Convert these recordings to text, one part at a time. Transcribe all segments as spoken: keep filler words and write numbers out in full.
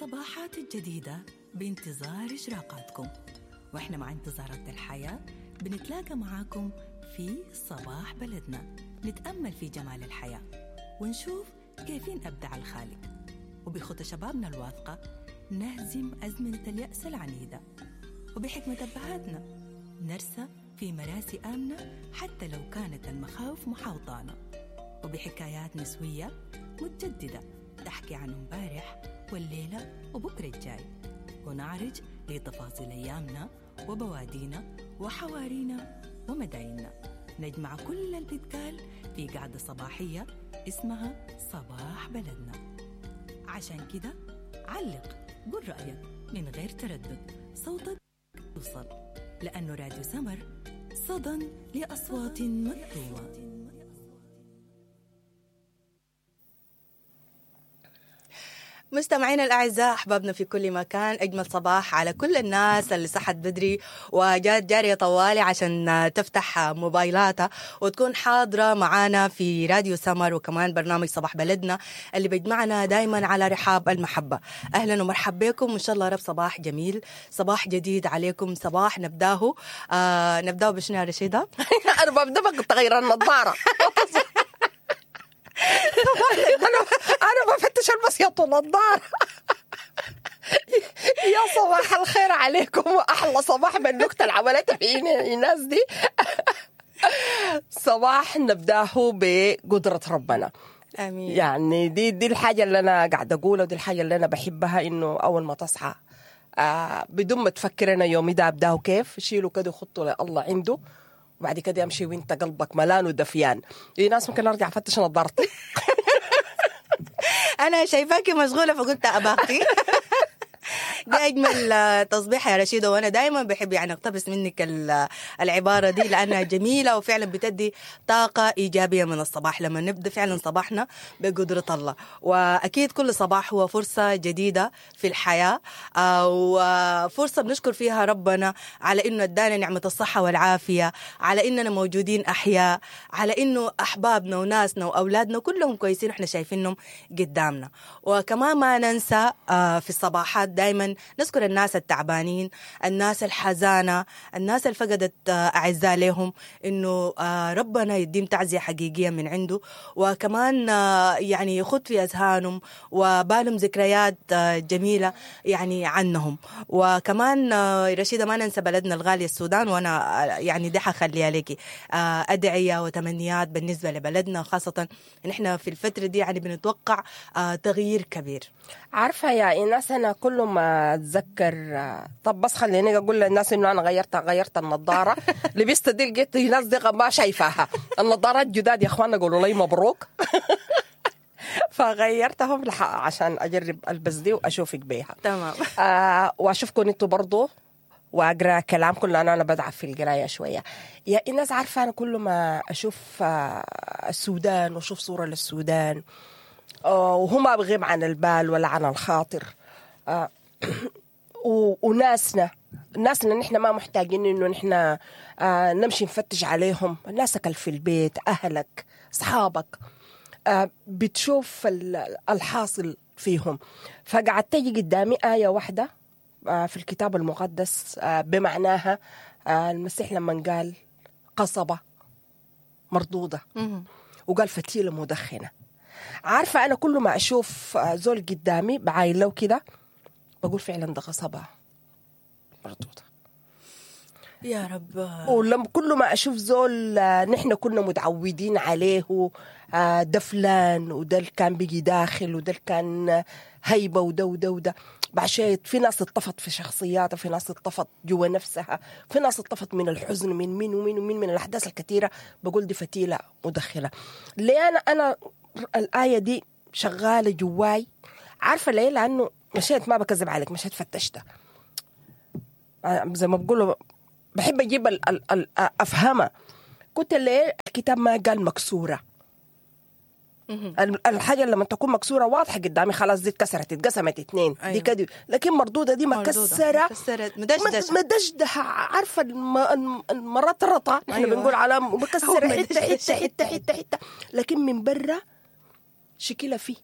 الصباحات الجديدة بانتظار إشراقاتكم، وإحنا مع انتظارات الحياة بنتلاقى معاكم في صباح بلدنا، نتأمل في جمال الحياة ونشوف كيفين أبدع الخالق، وبخطى شبابنا الواثقة نهزم أزمنة اليأس العنيدة، وبحكمة أبهاتنا نرسى في مراسي آمنة حتى لو كانت المخاوف محاوطانا، وبحكايات نسوية متجددة تحكي عن امبارح والليلة وبكرة الجاي، ونعرج لتفاصيل أيامنا وبوادينا وحوارينا ومدايننا. نجمع كل اللي بيتقال في قعدة صباحية اسمها صباح بلدنا. عشان كده علق، قول رأيك من غير تردد، صوتك يوصل، لأنه راديو سمر صدى لأصوات مكتومة. مستمعينا الأعزاء، أحبابنا في كل مكان، أجمل صباح على كل الناس اللي صحت بدري وجات جارية طوالي عشان تفتح موبايلاتها وتكون حاضرة معانا في راديو سمر، وكمان برنامج صباح بلدنا اللي بيجمعنا دايما على رحاب المحبة. أهلا ومرحبا بكم، وإن شاء الله رب صباح جميل، صباح جديد عليكم، صباح نبداه آه نبداه بشنو يا رشيدة؟ أنا ببدأ بتغير النظارة. انا انا بفتش البس يا طول النظارة. يا صباح الخير عليكم، واحلى صباح بالنكته اللي عملتها فينا الناس دي. صباح نبداه بقدره ربنا، امين. يعني دي دي الحاجة اللي انا قاعدة اقولها، ودي الحاجة اللي انا بحبها، انه اول ما تصحى آه بدون ما تفكر انا يومي ده ابداه كيف، شيله كده وخطه لله عنده، وبعد كده امشي وانت قلبك ملان ودفيان. في ناس ممكن ارجع افتش نظارتي. انا شايفاكي مشغولة فقلت اباختي. دي اجمل تصبيح يا رشيده، وانا دايما بحب يعني اقتبس منك العبارة دي لانها جميلة وفعلا بتدي طاقة ايجابية من الصباح لما نبدا فعلا صباحنا بقدره الله. واكيد كل صباح هو فرصة جديدة في الحياة، وفرصه بنشكر فيها ربنا على انه ادانا نعمه الصحة والعافية، على اننا موجودين احياء، على انه احبابنا وناسنا واولادنا كلهم كويسين واحنا شايفينهم قدامنا. وكمان ما ننسى في الصباحات دايما نذكر الناس التعبانين، الناس الحزانة، الناس اللي فقدت أعزاء لهم، إنه ربنا يديم تعزية حقيقية من عنده، وكمان يعني يخط في أذهانهم وبالهم ذكريات جميلة يعني عنهم. وكمان رشيدة ما ننسى بلدنا الغالية السودان، وأنا يعني دي حخليها لك أدعية وتمنيات بالنسبة لبلدنا، خاصة نحن في الفترة دي يعني بنتوقع تغيير كبير. عارفة يا إيناس، أنا كل ما اتذكر، طب بس خليني اقول للناس انه انا غيرت غيرت النظارة، لبست دي لقيت الناس دي ما شايفاها، النظارات جداد يا اخوانا، قولوا لي مبروك. فغيرتهم عشان اجرب البس دي واشوفك بيها. تمام. آه واشوفكم انتوا برضو واقرا كلامكم، لان انا بضعف في القراية شوية. يا الناس عارفه انا كل ما اشوف آه السودان واشوف صوره للسودان، آه وهو ما بغيب عن البال ولا عن الخاطر، آه وناسنا ناسنا نحن ما محتاجين انه نحن آه نمشي نفتش عليهم. ناسك في البيت، اهلك، اصحابك، آه بتشوف الحاصل فيهم. فقعدت تجي قدامي آية واحدة آه في الكتاب المقدس، آه بمعناها آه المسيح لما قال قصبة مردودة وقال فتيلة مدخنة. عارفة أنا كل ما أشوف زول قدامي بعايله كده بقول فعلا ده قصبة مردودة يا رب. ولما كل ما أشوف زول نحن كنا متعودين عليه، ده فلان وده اللي كان بيجي داخل وده اللي كان هيبة وده وده وده، بعشان في ناس اتطفت في شخصياتها، في ناس اتطفت جوا نفسها، في ناس اتطفت من الحزن، من مين ومين ومين، من الأحداث الكثيرة. بقول دي فتيلة مدخلة. ليه أنا أنا الآية دي شغالة جواي؟ عارفة ليه؟ لأنه مشيت، ما بكذب عليك، مشيت فتشتها زي ما بقولوا، بحب أجيب ال ال ال أفهمها. كنت ليه الكتاب ما قال مكسورة؟ الحاجة لما تكون مكسورة واضحة قدامي، خلاص دي اتكسرت، اتقسمت اتنين. أيوة. دي كده، لكن مردودة دي مكسرة، مدشدشة، مدشدشة، عارفة الم... المرطرطة نحن. أيوة. بنقول على مكسرة حتة حتة حتة حتة حتة، لكن من برا شكلها فيه.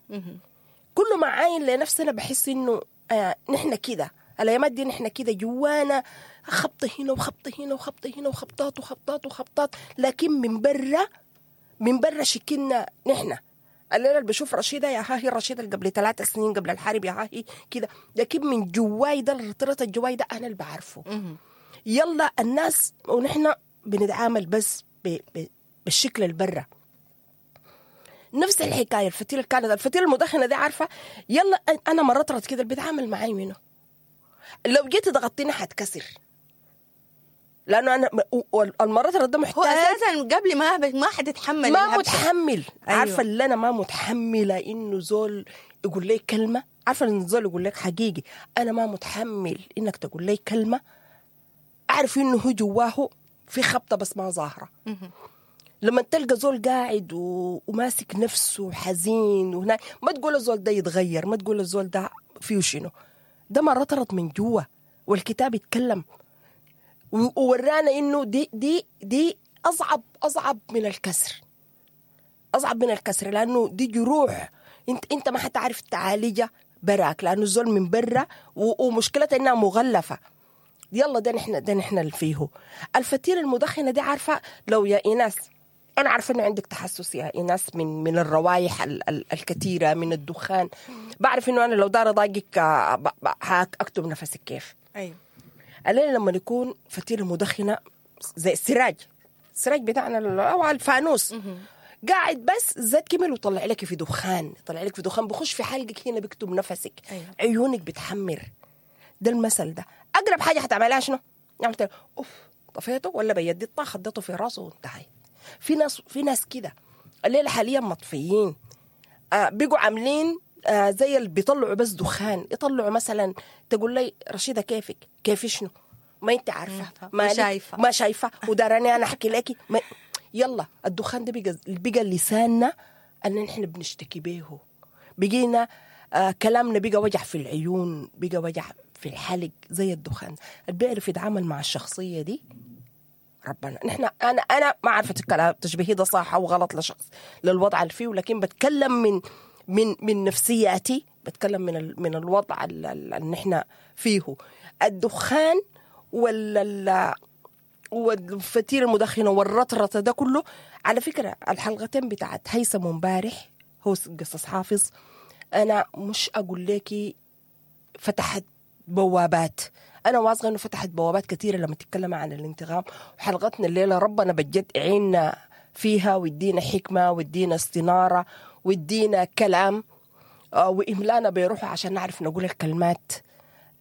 كل ما عاين لنفسنا بحس انه آه نحن كده الايامات دي، نحن كده جوانا خبطه هنا وخبطه هنا وخبطه هنا وخبطات وخبطات وخبطات، لكن من برا من برا شكلنا نحن الليلة اللي بشوف رشيده يا ها هي رشيده اللي قبل ثلاث سنين قبل الحرب يا ها هي كده، لكن من جواي ده الرطرة الجواي ده انا اللي بعرفه. يلا الناس ونحن بنتعامل بس ب ب بالشكل البرة. نفس الحكاية الفتيله اللي كانت الفتيله المدخنه دي عارفه، يلا انا مرطرت كده اللي بيتعامل معاي منه لو جيت ضغطتني حتكسر، لانه انا المرطرة ده محتاج هو اساسا قبل ما ما حتتحمل ما متحمل. أيوه. عارفه اللي انا ما متحملة انه زول يقول لي كلمة، عارفه ان زول يقول لك حقيقي انا ما متحمل انك تقول لي كلمة، اعرف انه هو جواه في خبطه بس ما ظاهره. لما تلقى زول قاعد و... وماسك نفسه حزين وهناك، ما تقول الزول ده يتغير، ما تقول الزول ده فيه شنو، ده مرطرت من جوا. والكتاب يتكلم وورانا انه دي دي دي اصعب اصعب من الكسر، اصعب من الكسر، لانه دي جروح انت انت ما حتعرف تعالجها براك، لانه الزول من برا ومشكلتها انها مغلفه. يلا ده نحن ده نحن اللي فيه الفتيله المدخنه دي. عارفه لو يا ايناس، انا عارفه انه عندك تحسس يا ايناس من من الروايح ال ال الكثيرة من الدخان، بعرف انه انا لو دار ضايقك اكتب نفسك كيف. ايوه الليلة لما يكون فتيله مدخنه زي السراج، السراج بتاعنا او الفانوس قاعد بس زاد كمل وطلع لك في دخان، طلع لك في دخان بخش في حلقك هنا بيكتب نفسك. أيوة. عيونك بتحمر. ده المثل ده اقرب حاجة حتعملها شنو؟ عملت اوف طفيته ولا بيدي الطاخ خدته في راسه وانتهى. في ناس في ناس كده الليلة حاليا مطفيين، آه بيقوا عاملين آه زي اللي بيطلعوا بس دخان، يطلعوا مثلا تقول لي رشيده كيفك؟ كيف شنو؟ ما انت عارفه، ما شايفه، ما شايفه وداراني انا احكي لك ما... يلا الدخان ده بقى بقى لساننا ان نحن بنشتكي به، بقينا آه كلامنا بقى وجع في العيون، بقى وجع في الحلق زي الدخان. اللي بيعرف يتعامل مع الشخصية دي ربنا. نحن انا انا ما عارفه الكلام تشبيهي ده صح او غلط لشخص للوضع اللي فيه، ولكن بتكلم من من من نفسياتي، بتكلم من من الوضع اللي نحن فيه. الدخان وال والفتيل المدخنه والرطرطه ده كله. على فكرة الحلقتين بتاعت هيثم امبارح هو قصص حافظ، انا مش اقول لك فتحت بوابات، انا واثقة انه فتحت بوابات كثيرة لما تتكلم عن الانتقام. وحلقتنا الليلة ربنا بجد عيننا فيها ويدينا حكمه ويدينا استناره ويدينا كلام وإملانا بيروحوا عشان نعرف نقول الكلمات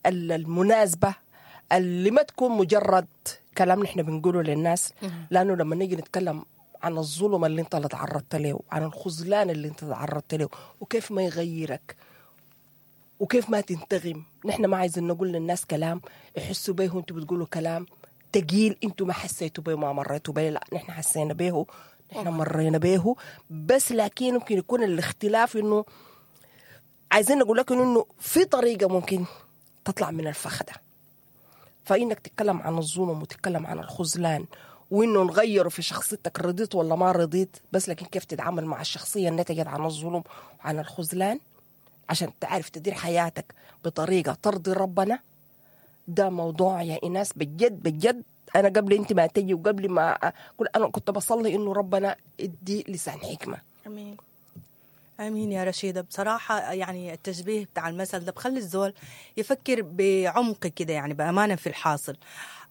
المناسبة اللي ما تكون مجرد كلام نحن بنقوله للناس. لأنه لما نيجي نتكلم عن الظلم اللي انت اللي تعرضت له، عن الخذلان اللي انت تعرضت له، وكيف ما يغيرك وكيف ما تنتغم، نحن ما عايزين نقول للناس كلام يحسوا به وانتوا بتقولوا كلام تقيل انتوا ما حسيتوا به وما مريتوا به. لا، نحن حسينا به، نحن مرينا به، بس لكن ممكن يكون الاختلاف انه عايزين نقول لكم انه في طريقة ممكن تطلع من الفخ ده. فإنك تتكلم عن الظلم وتتكلم عن الخذلان وإنه نغيره في شخصيتك، رضيت ولا ما رضيت، بس لكن كيف تتعامل مع الشخصية النتجت عن الظلم وعن الخذلان عشان تعرف تدير حياتك بطريقة ترضي ربنا. ده موضوع يا إناس بجد بجد. أنا قبل أنت ما تجي وقبل ما كل أنا كنت بصلي إنه ربنا يدي لسان حكمة. أمين آمين يا رشيدة. بصراحة يعني التشبيه بتاع المثل ده بخلي الزول يفكر بعمق كده، يعني بأمانة في الحاصل.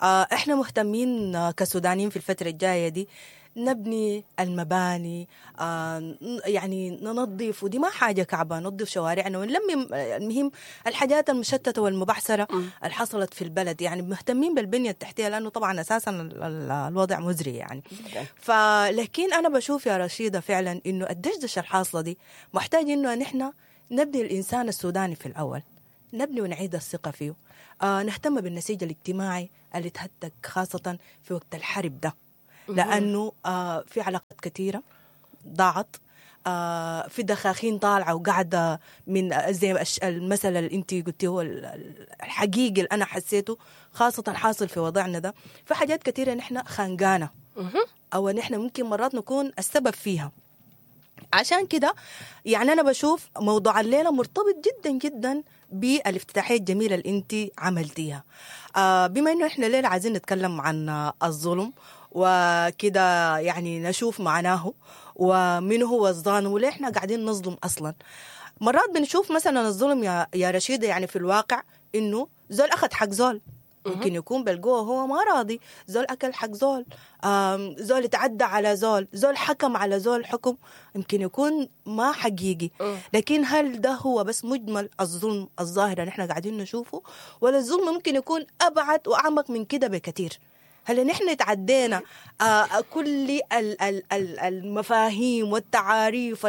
آه إحنا مهتمين كسودانيين في الفترة الجاية دي نبني المباني، آه يعني ننظف، ودي ما حاجة كعبة، ننظف شوارعنا ونلم المهم الحاجات المشتتة والمبعثرة اللي حصلت في البلد. يعني مهتمين بالبنية التحتية لأنه طبعا أساسا الوضع مزري يعني. فلكن أنا بشوف يا رشيدة فعلا إنه الدشدشة الحاصلة دي محتاج إنه نحن نبني الإنسان السوداني في الأول، نبني ونعيد الثقة فيه، آه نهتم بالنسيج الاجتماعي اللي تهتك خاصة في وقت الحرب ده، لأنه آه في علاقات كثيرة ضاعت، آه في دخاخين طالعة وقاعدة من زي المثل اللي أنت قلتيه هو الحقيقي اللي أنا حسيته خاصة حاصل في وضعنا ده. في حاجات كثيرة نحن خانقانا أو نحن ممكن مرات نكون السبب فيها. عشان كده يعني أنا بشوف موضوع الليلة مرتبط جدا جدا بالافتتاحيه الجميلة اللي انت عملتيها. آه بما انه احنا الليلة عايزين نتكلم عن الظلم وكده، يعني نشوف معناه ومن هو الظالم وليه احنا قاعدين نظلم اصلا. مرات بنشوف مثلا الظلم يا يا رشيده يعني في الواقع انه زول اخذ حق زول، ممكن يكون بالقوة هو ما راضي، زول أكل حق زول، زول تعدى على زول، زول حكم على زول حكم يمكن يكون ما حقيقي. لكن هل ده هو بس مجمل الظلم الظاهر اللي احنا قاعدين نشوفه، ولا الظلم ممكن يكون أبعد وأعمق من كده بكثير؟ هل نحن تعدينا آه كل المفاهيم والتعاريف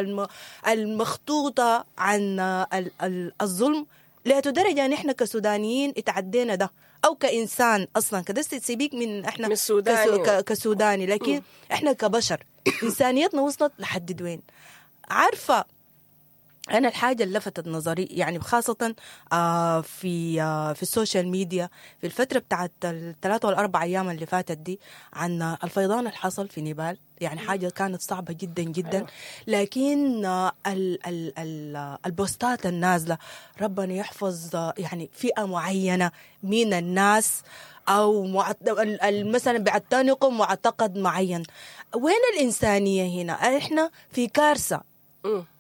المخطوطة عن الظلم لدرجة نحن كسودانيين اتعدينا ده، أو كإنسان أصلا كده سيبيك من إحنا من كسو كسوداني، لكن م. إحنا كبشر إنسانيتنا وصلت لحد وين؟ عارفة أنا الحاجة اللي لفتت نظري يعني خاصة آه في آه في ال social media في الفترة بتاعت الثلاثة والأربع أيام اللي فاتت دي، عن الفيضان اللي حصل في نيبال، يعني حاجة كانت صعبة جدا جدا. لكن آه ال ال ال البوستات النازلة ربنا يحفظ آه يعني فئة معينة من الناس، أو مثلا بيعتنقوا معتقد معين. وين الإنسانية هنا؟ إحنا في كارثة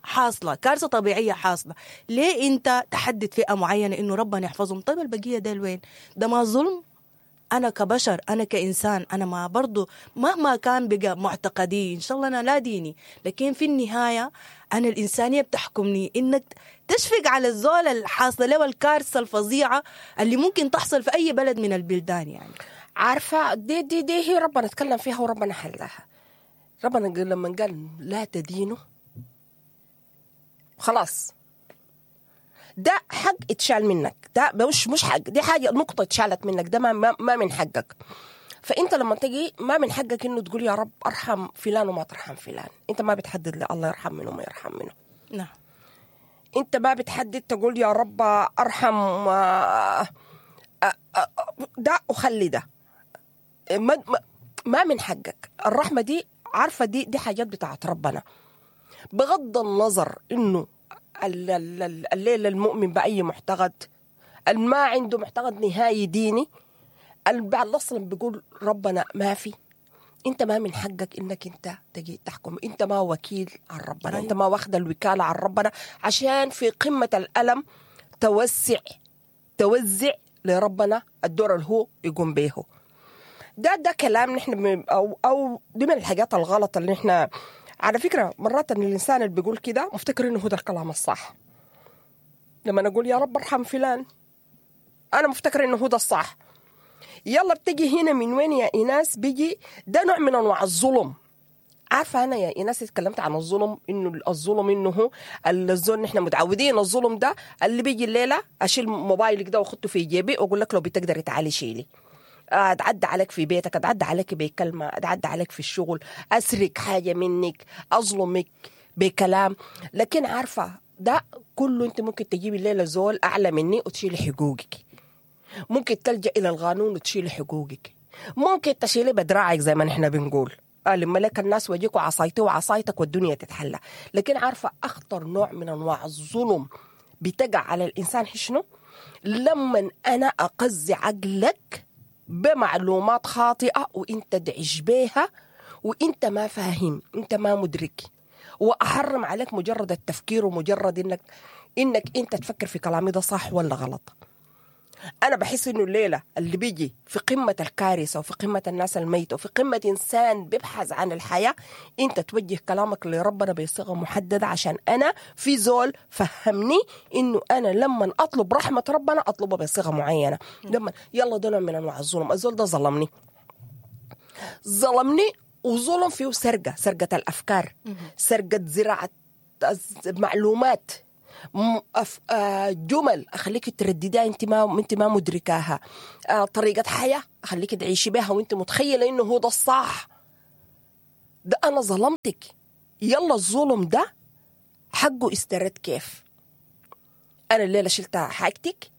حاصلة، كارثة طبيعية حاصلة. ليه أنت تحدد فئة معينة إنه ربنا يحفظهم؟ طيب البقية ده وين؟ ده ما ظلم؟ أنا كبشر، أنا كإنسان، أنا ما برضو مهما كان بقى معتقدي إن شاء الله أنا لا ديني، لكن في النهاية أنا الإنسانية بتحكمني إنك تشفق على الزول الحاصلة له الكارثة الفظيعة اللي ممكن تحصل في أي بلد من البلدان. يعني عارفة دي دي دي هي ربنا اتكلم فيها وربنا حلها. ربنا لما قال لا تدينوا خلاص ده حق اتشال منك، ده مش مش حق، دي حاجة نقطة اتشالت منك، ده ما ما من حقك. فانت لما تجي ما من حقك انه تقول يا رب ارحم فلان وما ترحم فلان. انت ما بتحدد لا الله يرحم منه وما يرحم منه. نعم. انت ما بتحدد تقول يا رب ارحم ده وخلي ده، ما ما من حقك. الرحمة دي عارفه دي دي حاجات بتاعت ربنا، بغض النظر انه الليل المؤمن بأي معتقد، ما عنده معتقد نهائي ديني، بعد اصلا بيقول ربنا ما في. انت ما من حقك انك انت تجي تحكم، انت ما وكيل عن ربنا. أيوة. انت ما واخد الوكالة عن ربنا عشان في قمة الألم توسع توزع لربنا الدور اللي هو يقوم به. ده ده كلام نحن او او دي من الحاجات الغلط اللي نحن على فكرة مرات إن الإنسان اللي بيقول كده مفتكر إنه هو ده الكلام الصح. لما نقول يا رب ارحم فلان أنا مفتكر إنه هو ده الصح. يلا بتجي هنا من وين يا إيناس؟ بيجي ده نوع من أنواع الظلم. عارفة أنا يا إيناس اتكلمت عن الظلم، إنه الظلم إنه هو الظلم نحن متعودين الظلم ده اللي بيجي الليلة أشيل موبايلك ده وأخده في جيبي وأقول لك لو بتقدري تعالي شيلي، أتعدى عليك في بيتك، أتعدى عليك بكلمة، أتعدى عليك في الشغل، أسرق حاجة منك، أظلمك بكلام. لكن عارفة ده كله أنت ممكن تجيبي الليلة زول أعلى مني وتشيلي حقوقك، ممكن تلجأ إلى القانون وتشيلي حقوقك، ممكن تشيلي بدراعك زي ما نحن بنقول لما لك الناس ويجيك وعصايتي وعصايتك والدنيا تتحلى. لكن عارفة أخطر نوع من أنواع الظلم بتقع على الإنسان شنو؟ لما أنا أقزي عقلك بمعلومات خاطئة وانت تعيش بيها وانت ما فاهم، انت ما مدرك، واحرم عليك مجرد التفكير ومجرد انك انك انت تفكر في كلامي ده صح ولا غلط. انا بحس انه الليلة اللي بيجي في قمة الكارثة وفي قمة الناس الميتة وفي قمة انسان بيبحث عن الحياة، انت توجه كلامك لربنا بصيغة محددة، عشان انا في زول فهمني انه انا لما اطلب رحمه ربنا اطلبها بصيغة معينة. لما يلا ده نوع من انواع الظلم. الزول ده ظلمني ظلمني وظلم فيه سرقه، سرقه الافكار، سرقه زراعة معلومات، جمل اخليك تردديها انت ما انت ما مدركاها، طريقه حياة اخليك تعيشي بها وانت متخيله انه هو ده الصح. ده انا ظلمتك. يلا الظلم ده حقه استرد كيف؟ انا الليلة شلت حاجتك،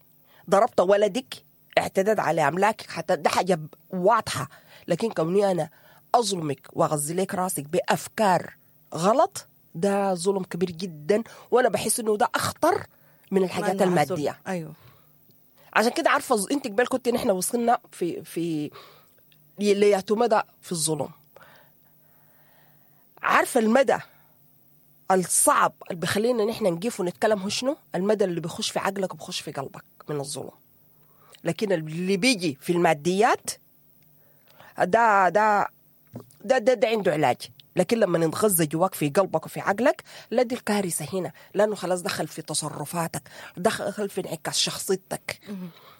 ضربت ولدك، اعتدت على املاكك، حتى ده حاجة واضحة. لكن كوني انا اظلمك واغزي لك راسك بافكار غلط، ده ظلم كبير جدا، وانا بحس انه ده اخطر من الحاجات المادية. ايوه عشان كده عارفه انت قبل كنت نحن وصلنا في في لياتو مدى في الظلم. عارفه المدى الصعب اللي بخلينا نحن نقيف ونتكلم هو شنو؟ المدى اللي بيخش في عقلك وبخش في قلبك من الظلم. لكن اللي بيجي في الماديات ده ده ده ده, ده عنده علاج. لكن لما نتغذى جواك في قلبك وفي عقلك، لا دي الكارثة هنا، لأنه خلاص دخل في تصرفاتك، دخل في انعكاس شخصيتك.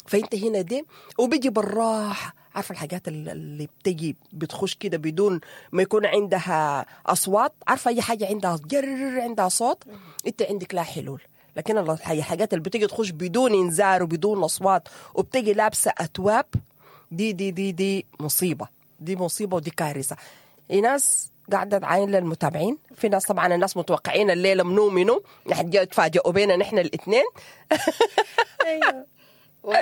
فأنت هنا دي وبيجي بالراحة. عارفة الحاجات اللي بتجي بتخش كده بدون ما يكون عندها أصوات، عارفة أي حاجة عندها جر عندها صوت، أنت عندك لا حلول. لكن الحاجات اللي بتيجي تخش بدون إنذار وبدون أصوات وبتجي لابسة أتواب، دي دي دي دي مصيبة، دي مصيبة ودي كارثة. ناس قاعدة تعاين للمتابعين، في ناس طبعا الناس متوقعين الليلة منو منو نحن تفاجئوا بينا نحن الاثنين. ايوه و...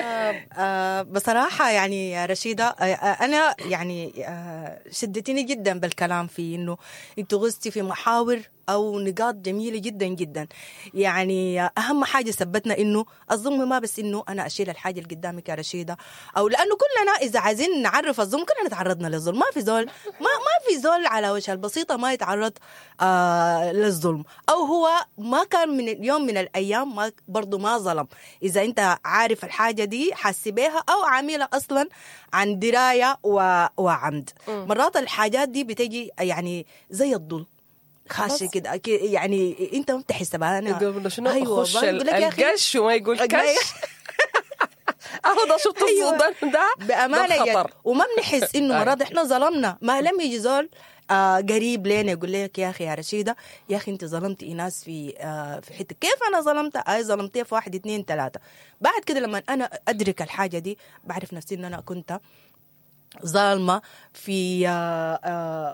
آه بصراحة يعني يا رشيدة، آه أنا يعني آه شدتني جدا بالكلام في إنه أنت غزتي في محاور أو نقاط جميلة جدا جدا. يعني أهم حاجة ثبتنا إنه الظلم ما بس إنه أنا أشيل الحاجة اللي قدامك يا رشيدة، أو لأنه كلنا إذا عايزين نعرف الظلم كلنا تعرضنا للظلم. ما في زول ما ما في زول على وجه البسيطة ما يتعرض آه للظلم، أو هو ما كان من يوم من الأيام ما برضو ما ظلم. إذا أنت عارف الحاجة دي حاسي بيها أو عاملة أصلا عن دراية وعمد. مرات الحاجات دي بتجي يعني زي الظلم خاشي كده، يعني انت ما بتحسبها. انا يقول شنو؟ ايوه خش القش وما يقول كش. اهو ده شفت الصدام ده بامانه يعني. وما بنحس انه مرات احنا ظلمنا، ما لم يجي زول آه قريب لنا يقول لك يا اخي يا رشيده، يا اخي انت ظلمتي ايناس في آه في حتة. كيف انا ظلمتها؟ اي ظلمتيها في واحد اثنين ثلاثة. بعد كده لما انا ادرك الحاجة دي بعرف نفسي ان انا كنت ظالمة في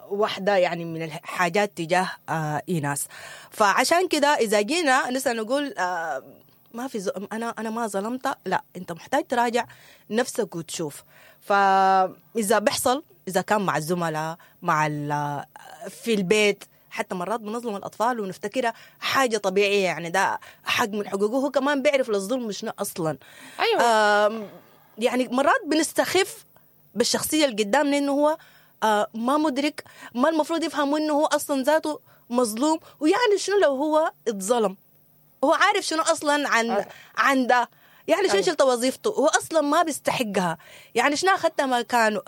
واحدة يعني من الحاجات تجاه إيناس. فعشان كده إذا جينا نسأل نقول ما في ز... أنا أنا ما ظلمت، لا أنت محتاج تراجع نفسك وتشوف. فإذا بيحصل، إذا كان مع الزملاء، مع ال... في البيت، حتى مرات بنظلم الأطفال ونفتكرها حاجة طبيعية، يعني ده حق من حقوقه، هو كمان بيعرف للظلم شنو أصلا. أيوة. يعني مرات بنستخف بالشخصية اللي قدامنا إنه هو آه ما مدرك، ما المفروض يفهم إنه هو أصلا ذاته مظلوم، ويعني شنو لو هو اتظلم، هو عارف شنو أصلا عن أه. عن ده، يعني شنو شلت وظيفته، هو أصلا ما بيستحقها، يعني شنو أخذتها مكانه.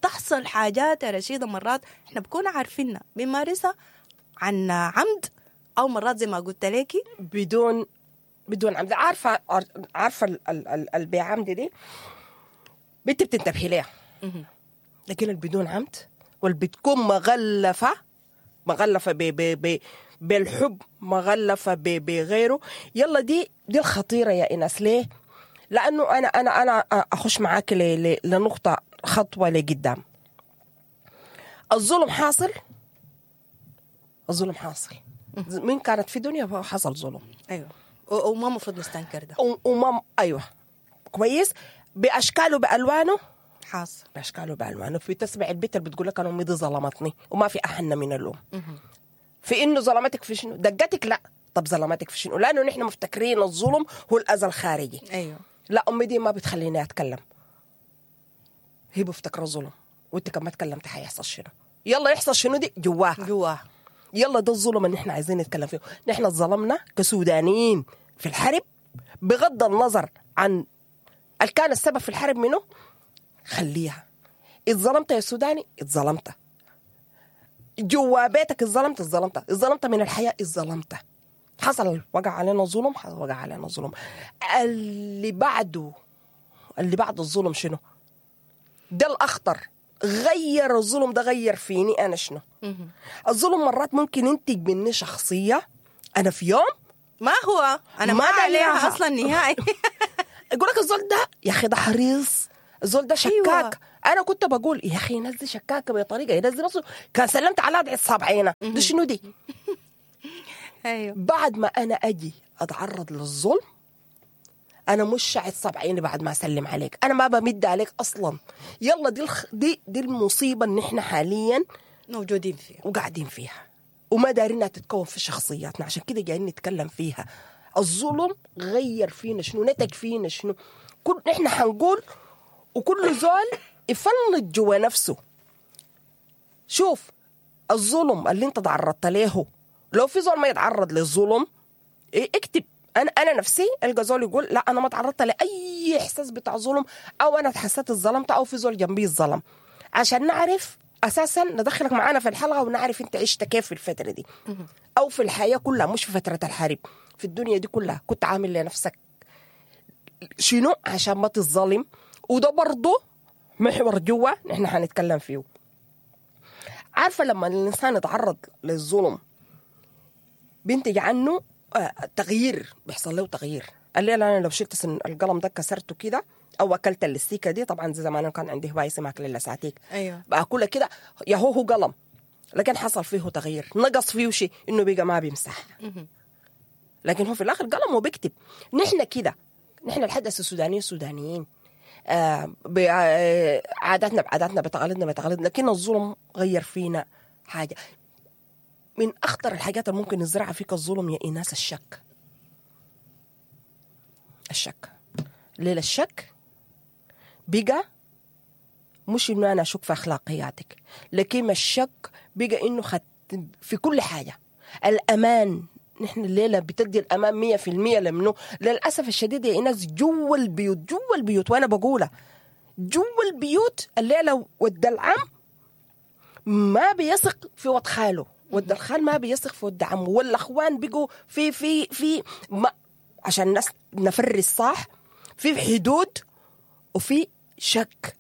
تحصل حاجات يا رشيدة مرات إحنا بكون عارفينها بنمارسها عن عمد، أو مرات زي ما قلت لكي بدون بدون عمد. عارفة عارفة البيعمد دي بنت بتنتبهي ليها، لكن البدون عمد والبتكون مغلفة مغلفة ب ب ب بالحب، مغلفة ب بغيره. يلا دي دي الخطيرة يا إناس. ليه؟ لأنه أنا أنا أنا أخش معاك ل لنقطة خطوة لقدام. الظلم حاصل، الظلم حاصل من كانت في دنيا حصل ظلم. أيوة، وما مفروض نستنكر ده. وما أيوة كويس، بأشكاله بألوانه حاصل، بأشكاله بألوانه. في تسمع البيت اللي بتقول لك أنا أمي دي ظلمتني، وما في أحن من اللوم في إنه ظلمتك في شنو؟ دقتك؟ لا. طب ظلمتك في شنو؟ لأنه نحن مفتكرين الظلم هو الأذى الخارجي. أيوة. لا أمي دي ما بتخليني أتكلم، هي بفتكر الظلم، وأنت كما تكلمت حيحصل شنو؟ يلا يحصل شنو دي جواها جواها. يلا ده الظلم اللي نحن عايزين نتكلم فيه. نحن ظلمنا كسودانيين في الحرب، بغض النظر عن اللي كان السبب في الحرب منه، خليها. اتظلمت يا سوداني، اتظلمت جوا بيتك، اتظلمت اتظلمت اتظلمت من الحياة، اتظلمت. حصل وقع علينا ظلم، وقع علينا ظلم. اللي بعده اللي بعد الظلم شنو؟ ده الأخطر. غير الظلم ده غير فيني أنا شنو؟ الظلم مرات ممكن ينتج مني شخصية أنا في يوم ما هو أنا ما, ما عليها أصلا نهائي. يقول لك الزول ده يا أخي ده حريص، الزول ده شكاك. أيوة. أنا كنت بقول يا أخي ينزل شكاكة بطريقة ينزل نفسه، كان سلمت على أدعي الصابعينة ده شنو دي؟ أيوة. بعد ما أنا أجي أتعرض للظلم أنا مش شاعد صابعيني بعد ما أسلم عليك، أنا ما بمد عليك أصلا. يلا دي الخ... دي دي المصيبة اللي إحنا حاليا موجودين فيها وقاعدين فيها وما دارينها تتكون في شخصياتنا. عشان كده جايين نتكلم فيها. الظلم غير فينا شنو، نتج فينا شنو. كل نحن حنقول وكل زول يفنط جوا نفسه. شوف الظلم اللي انت تعرضت له، لو في زول ما يتعرض للظلم اكتب. انا انا نفسي القى زول يقول لا انا ما تعرضت لاي احساس بتاع ظلم، او انا حسيت اتظلمت، او في زول جنبي اتظلم، عشان نعرف اساسا ندخلك معانا في الحلقة ونعرف انت عشت كيف في الفترة دي او في الحياة كلها، مش في فترة الحرب، في الدنيا دي كلها كنت عامل لنفسك شنو عشان ما تتظلم. وده برضه محور جوا نحن حنتكلم فيه. عارفه لما الانسان يتعرض للظلم بينتج عنه تغيير، بيحصل له تغيير. الليلة انا لو شلت القلم ده كسرته كده او اكلت اللستيكه دي، طبعا زي زمان كان عندي هواية اسمها اكل اللساتيك، ايوه باكلها كده يا هو هو قلم، لكن حصل فيه تغيير، نقص فيه شيء انه بقى ما بيمسح، لكن هو في الاخر قلم وبيكتب. نحن كده، نحن الحدث السودانيين السودانيين آه بعاداتنا بعاداتنا بتقاليدنا بتقاليدنا، لكن الظلم غير فينا حاجة. من اخطر الحاجات اللي ممكن يزرعها فيك الظلم يا ايناس الشك. الشك ليه؟ الشك بقى مش انه انا اشك في اخلاقياتك، لكن الشك بقى انه خد في كل حاجة. الامان، نحن الليلة بتدي الامان مية في المية لمنه؟ للاسف الشديد يا ايناس جوا البيوت، جوا البيوت، وانا بقولها جوا البيوت الليلة ود العم ما بيثق في ود خاله، ود الخال ما بيثق في ود عمه، والاخوان بقوا في في في ما عشان الناس نفرز صح، في حدود وفي شك،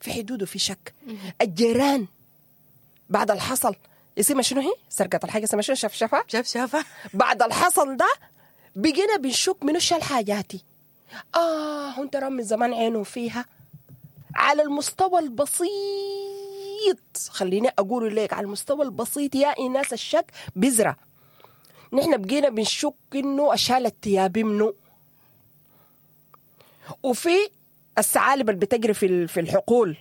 في حدود وفي شك. الجيران بعد الحصل اسمها شنو هي؟ سرقة الحاجة اسمها شنو؟ شفشفة؟ شفشفة. بعد الحصل ده بقينا بنشك منو شال حاجاتي. آه انت رام من زمان عينه فيها. على المستوى البسيط، خليني أقول لك على المستوى البسيط يا إيناس الشك بذرة. نحن بقينا بنشك إنه أشال الثياب منه، وفي الثعالب اللي بتجري في في الحقول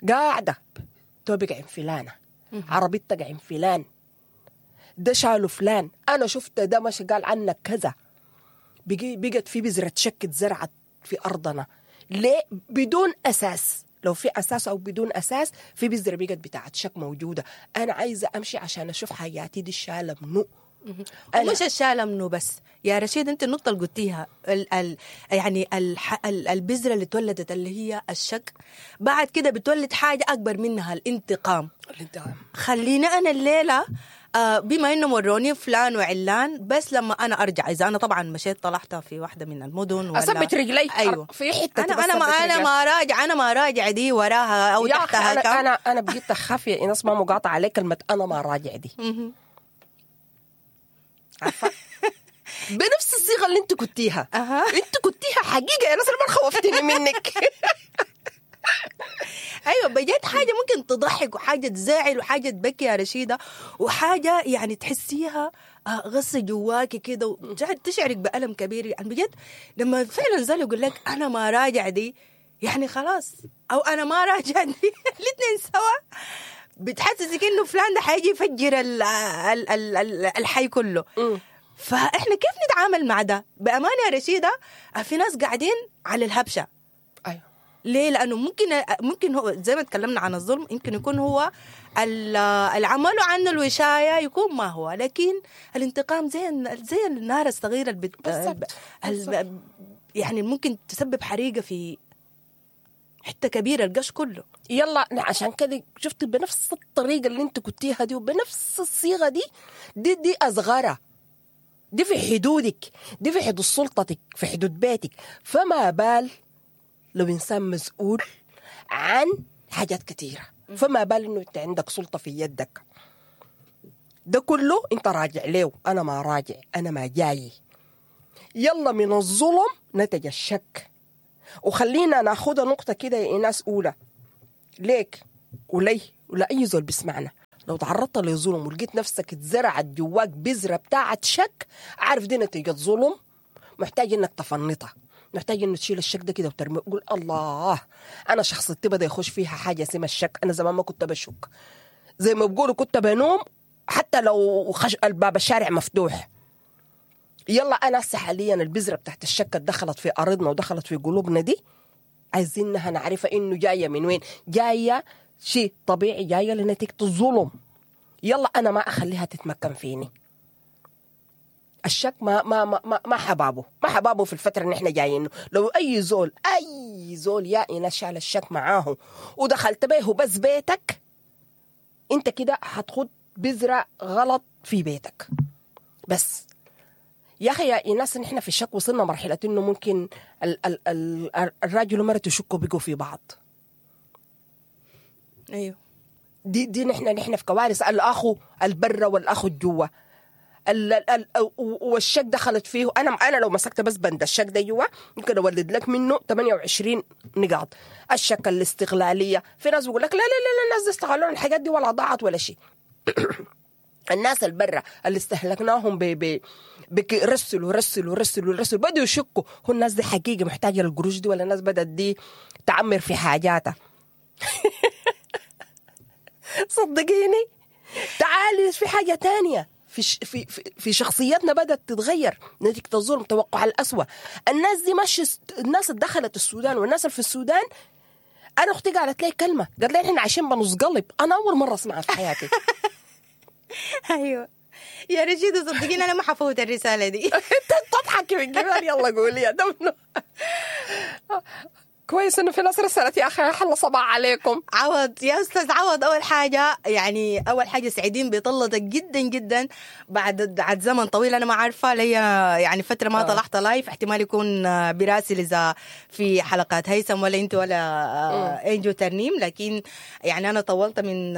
قاعدة توبك عين فلانة، عربيتك عين فلان، ده شالوا فلان، أنا شفت ده مش قال عنك كذا. بقي بقت في بذرة شك اتزرعت في أرضنا. ليه؟ بدون أساس. لو في أساس أو بدون أساس في بذرة بقت بتاعت شك موجودة. أنا عايزة أمشي عشان أشوف حياتي دي الشالة منو. ومش الشالة منو بس يا رشيد، أنت النقطة اللي قلتيها ال ال يعني ال ال البذرة اللي تولدت اللي هي الشك، بعد كده بتولد حاجة أكبر منها، الانتقام. الانتقام. خلينا أنا الليلة آه بما إنه مروني فلان وعلان، بس لما أنا أرجع، إذا أنا طبعا مشيت طلعت في واحدة من المدن ولا أثبت رجلي، أيوة في حتة أنا أنا ما أنا ما راجع، أنا ما راجع دي وراها أو تحتها. أنا كم. أنا أنا بقيت أخاف يا إيناس، ما مقاطعة عليك كلمة أنا ما راجع دي. عارفة بنفس الصيغة اللي أنت كنتيها. أه. أنت كنتيها حقيقة يا ناس، ما خوفتني منك. أيوة بجد حاجة ممكن تضحك وحاجة تزعل وحاجة تبكي يا رشيدة، وحاجة يعني تحسيها غصة جواكي كده وتشعرك بألم كبير. يعني بجد لما فعلا زال يقول لك أنا ما راجع دي، يعني خلاص، أو أنا ما راجع دي، الاثنين سوا بتحسسك إنه فلان ده حيجي يفجر ال ال ال ال الحي كله. فإحنا كيف نتعامل مع ده؟ بأمانة يا رشيدة في ناس قاعدين على الهبشة. أيوة. ليه؟ لأنه ممكن ممكن هو زي ما تكلمنا عن الظلم، يمكن يكون هو العمل عنه الوشاية يكون ما هو، لكن الانتقام زي زي النار الصغيرة اللي بت... ال... يعني ممكن تسبب حريقة في حتة كبيرة، القش كله. يلا عشان كده شفت بنفس الطريقة اللي انت كنتيها دي وبنفس الصيغة دي دي دي أصغرها، دي في حدودك، دي في حدود سلطتك، في حدود بيتك. فما بال لو إنسان مسؤول عن حاجات كثيرة، فما بال إنه أنت عندك سلطة في يدك. ده كله أنت راجع له، أنا ما راجع، أنا ما جاي. يلا من الظلم نتج الشك. وخلينا ناخدها نقطة كده يا إيناس أولى ليك ولي ولا أي زول بيسمعنا. لو تعرضت لظلم ولقيت نفسك اتزرعت جواك بذرة بتاعت شك، عارف دي نتيجة ظلم، محتاج إنك تفنطها، محتاج إنه تشيل الشك ده كده وترمي، قول الله أنا شخصيتي بدأ يخش فيها حاجة اسمها الشك. أنا زمان ما كنت بشك، زي ما بقولوا كنت بنوم حتى لو خش الباب الشارع مفتوح. يلا انا هسه حاليا البذرة بتاعت الشك دخلت في ارضنا ودخلت في قلوبنا دي، عايزينها نعرفها انه جاية من وين، جاية شيء طبيعي، جاية لنتيجة الظلم. يلا انا ما اخليها تتمكن فيني. الشك ما ما ما ما حبابة، ما حبابة في الفترة اللي احنا جايينه. لو اي زول اي زول يا ايناس شال الشك معاه ودخلت به بس بيتك، انت كده هتخد بذرة غلط في بيتك. بس يا اخي يا ايناس نحن في الشك وصلنا مرحلة انه ممكن ال ال ال الراجل ومرته يشكوا بيقوا في بعض. ايوه دي دي نحن نحن في كوارث. الاخو البرة والاخو الجوا ال ال والشك دخلت فيه. انا انا لو مسكت بس بند الشك ده جوا ممكن اولد لك منه ثمانية وعشرين نقاط. الشك، الاستغلاليه، في ناس بيقول لك لا لا لا الناس دي استغلوا الحاجات دي ولا ضاعت ولا شيء. الناس البرة اللي استهلكناهم ب ب رسلوا رسلوا رسلوا رسلوا بدوا يشكوا هو الناس دي حقيقة محتاجه للقروش دي ولا الناس بدات دي تعمر في حاجاتها. صدقيني تعالي في حاجة تانية في في في شخصياتنا بدات تتغير نتيجة الظلم، توقع الأسوأ. الناس دي ماشي، الناس اللي دخلت السودان والناس اللي في السودان. انا اختي قالت لي كلمة، قالت لي احنا عايشين بنص قلب. انا اول مرة اسمعها في حياتي. ايوه يا رشيدة صدقيني انا ما حفوت الرسالة دي. انت تضحكي من جبال. يلا قولي يا دمنو. كويس انه في ناس رسلت يا اخي احلى صباح عليكم. عوض يا استاذ عوض، اول حاجة يعني اول حاجة سعيدين بطلتك جدا جدا بعد بعد زمن طويل. انا ما عارفه لي يعني فترة ما طلعت live، احتمال يكون براسل اذا في حلقات هيثم ولا انت ولا انجو ترنيم، لكن يعني انا طولت من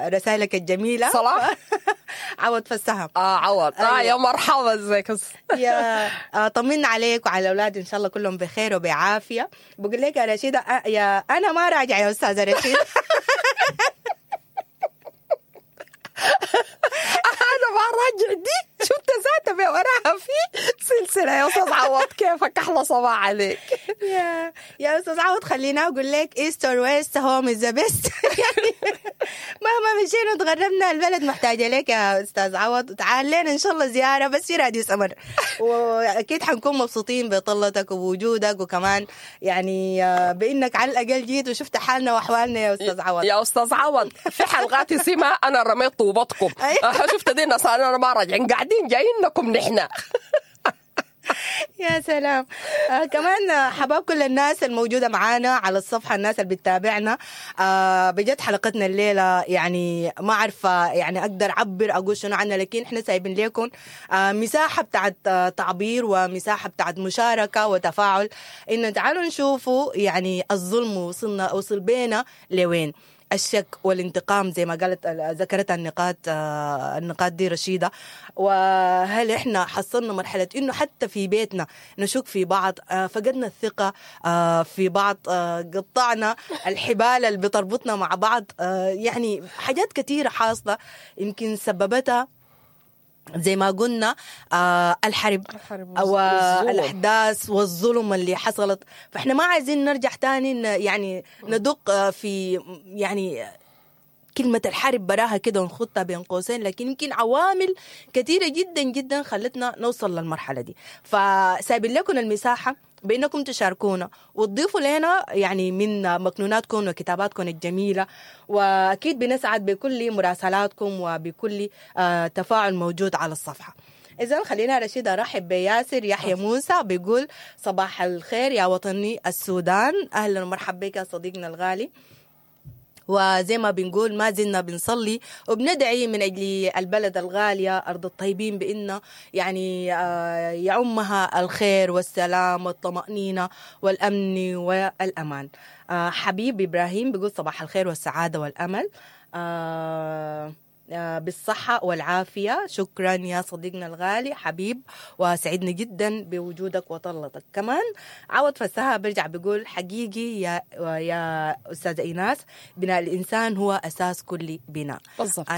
رسائلك الجميلة. صلاح عوض فسهم. اه عوض اه يا مرحبا، ازيك؟ يا آه طمنا عليك وعلى الاولاد ان شاء الله كلهم بخير وبعافيه. بقول لك يا رشيدة يا أنا ما راجع يا أستاذة رشيدة. أنا ما راجع دي شفت ذاتها وراها في سلسلة. يا أستاذ عوض كيفك؟ أحلى صباح عليك. يا يا أستاذ عوض خلينا أقول لك east or west home is the best. يعني مهما مشينا وتغربنا البلد محتاجة لك يا أستاذ عوض. تعال لنا إن شاء الله زيارة بس في راديو سمر، وأكيد حنكون مبسوطين بطلتك ووجودك، وكمان يعني بإنك على الأقل جيت وشفت حالنا وأحوالنا يا أستاذ عوض. يا أستاذ عوض في حلقات سيما أنا رميت طوبتكم. شفت دي الناس أنا ما راجعين، قاعدين جايينكم نحن. يا سلام. آه كمان حباب كل الناس الموجودة معانا على الصفحة، الناس اللي بتتابعنا. آه بجد حلقتنا الليلة يعني ما عارفة يعني أقدر أعبر أقول شنو عنها، لكن إحنا سايبين لكم آه مساحة بتاعت آه تعبير ومساحة بتاعت مشاركة وتفاعل، إنه تعالوا نشوفوا يعني الظلم وصلنا وصل بينا لوين. الشك والانتقام زي ما قالت ذكرتها النقاط النقاط دي رشيدة. وهل احنا حصلنا مرحلة انه حتى في بيتنا نشك في بعض، فقدنا الثقة في بعض، قطعنا الحبال اللي بتربطنا مع بعض، يعني حاجات كثيرة حاصلة يمكن سببتها زي ما قلنا آه الحرب, الحرب والأحداث والظلم اللي حصلت. فإحنا ما عايزين نرجع تاني يعني ندق في يعني كلمة الحرب براها كده ونخطها بين قوسين، لكن يمكن عوامل كثيرة جدا جدا خلتنا نوصل للمرحلة دي. فسايبين لكم المساحة بأنكم تشاركونا وتضيفوا لنا يعني من مكنوناتكم وكتاباتكم الجميلة، وأكيد بنسعد بكل مراسلاتكم وبكل تفاعل موجود على الصفحة. إذن خلينا رشيدة أرحب بياسر يحيى موسى، بيقول صباح الخير يا وطني السودان. أهلا ومرحبا بك يا صديقنا الغالي. وزي ما بنقول ما زلنا بنصلي وبندعي من أجل البلد الغالية أرض الطيبين بإن يعني يعمها الخير والسلام والطمأنينة والأمن والأمان. حبيب إبراهيم بيقول صباح الخير والسعادة والأمل بالصحة والعافية. شكرا يا صديقنا الغالي حبيب، وسعدنا جدا بوجودك وطلتك. كمان عوض فسها برجع بيقول حقيقي يا يا أستاذة إيناس، بناء الإنسان هو أساس كل بناء. بالضبط. أنا